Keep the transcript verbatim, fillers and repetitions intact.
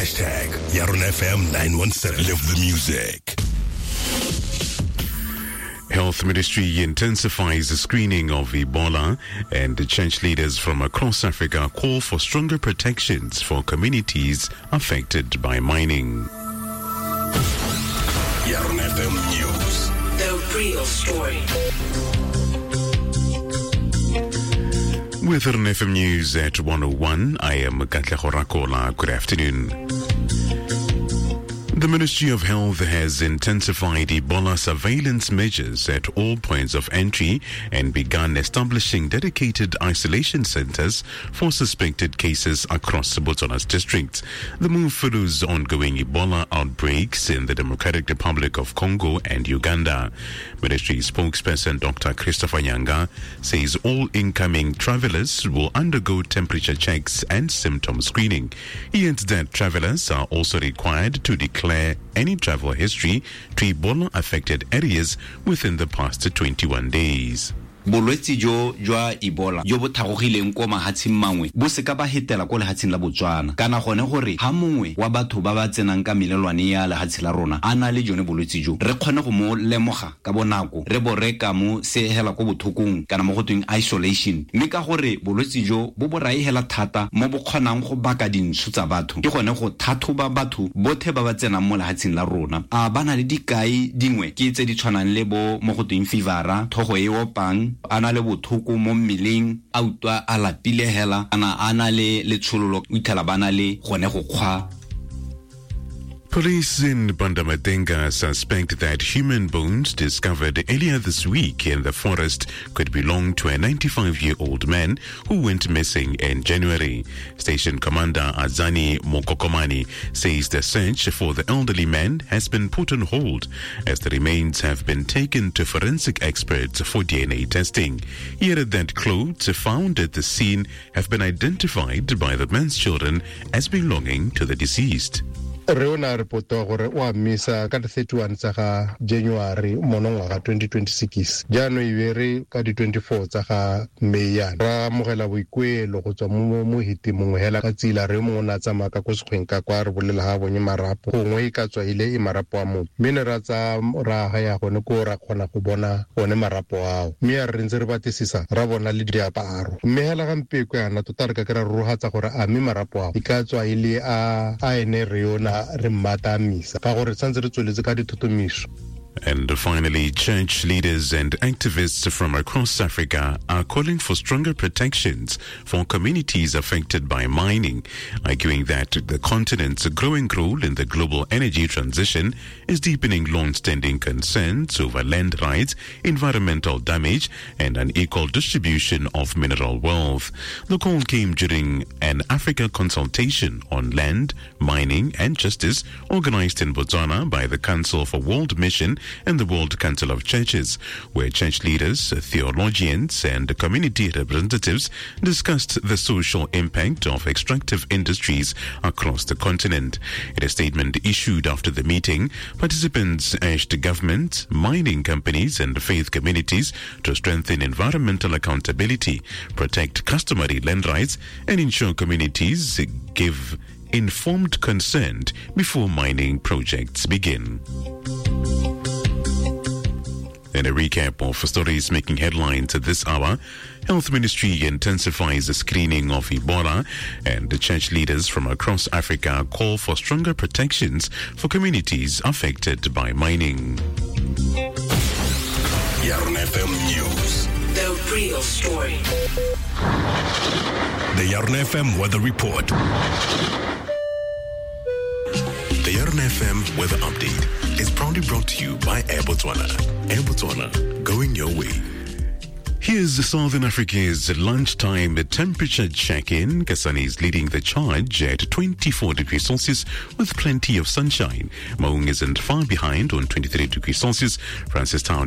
Hashtag Yarona F M nine one seven. Live the music. Health Ministry intensifies the screening of Ebola, and the church leaders from across Africa call for stronger protections for communities affected by mining. Yarona F M News. The real story. With Yarona F M News at one oh one, I am Katlego Rakola. Good afternoon. The Ministry of Health has intensified Ebola surveillance measures at all points of entry and begun establishing dedicated isolation centers for suspected cases across Botswana's districts. The move follows ongoing Ebola outbreaks in the Democratic Republic of Congo and Uganda. Ministry spokesperson Doctor Christopher Nyanga says all incoming travelers will undergo temperature checks and symptom screening. He adds that travelers are also required to declare any travel history to Ebola-affected areas within the past twenty-one days. Bolwetsi jo jwa Ebola jo bo thagogileng ko mahatsheng mangwe bo se ka ba hetela ko lehatsheng la Botswana, kana gone gore ha mongwe wa batho ba ba tsenang ka melelwane ya lehatshe la rona a na le jone bolwetsi jo, re kgone go mo lemoga ka bonako, re bo re ka mo segela ko bothokong kana mo go tweng isolation. Mme ka gore bolwetsi jo bo bo raegela thata mo bo kgonang go baka dintsho tsa batho, ke gone go thathoba batho bothe ba ba tsenang mo lehatsheng la rona. A ba na le dikai dingwe ke tse di tshwanang le bo mo go tweng fevera, thogo e opang, a na le bothoko mo mmeleng, a utlwa a lapile hela, ana a na le letshololo, o itlhela ba na le gone go kgwa. Police in Pandamatenga suspect that human bones discovered earlier this week in the forest could belong to a ninety-five-year-old man who went missing in January. Station Commander Azani Mokokomani says the search for the elderly man has been put on hold as the remains have been taken to forensic experts for D N A testing. He added that clothes found at the scene have been identified by the man's children as belonging to the deceased. Re o na reporta gore o a misa ka thirty-one tsa ga January monongwaga twenty twenty-six. Jaanong e be re ka di twenty-four tsa ga May yana ra amogela boikuelo go tswa mo mohiti mongwe hela ka tsela re mongwe o ne a tsamaya ka ko sekgweng ka kwa re bolela ga bonye marapo, gongwe e ka tswa ile e marapo a motho, mme ne ra tsaya ra ya gone ko ra kgona go bona one marapo ao, mme ya re ntse re batlisisa ra bona le diaparo. Mme hela gampeko yana tota re ka kry-a rorogatsa gore a mme marapo ao e ka tswa ile a a ene re yona re mmata misa ka gore santse re tsweletse ka dithotomiso. And finally, church leaders and activists from across Africa are calling for stronger protections for communities affected by mining, arguing that the continent's growing role in the global energy transition is deepening long-standing concerns over land rights, environmental damage, and unequal distribution of mineral wealth. The call came during an Africa consultation on land, mining, and justice organized in Botswana by the Council for World Mission and the World Council of Churches, where church leaders, theologians, and community representatives discussed the social impact of extractive industries across the continent. In a statement issued after the meeting, participants urged government, mining companies, and faith communities to strengthen environmental accountability, protect customary land rights, and ensure communities give informed consent before mining projects begin. And a recap of stories making headlines at this hour. Health Ministry intensifies the screening of Ebola, and the church leaders from across Africa call for stronger protections for communities affected by mining. Yarona F M News. The real story. The Yarona F M Weather Report. The Yarona F M Weather Update is proudly brought to you by Air Botswana. Air Botswana, going your way. Here's Southern Africa's lunchtime temperature check-in. Kasane is leading the charge at twenty-four degrees Celsius with plenty of sunshine. Maung isn't far behind on twenty-three degrees Celsius. Francistown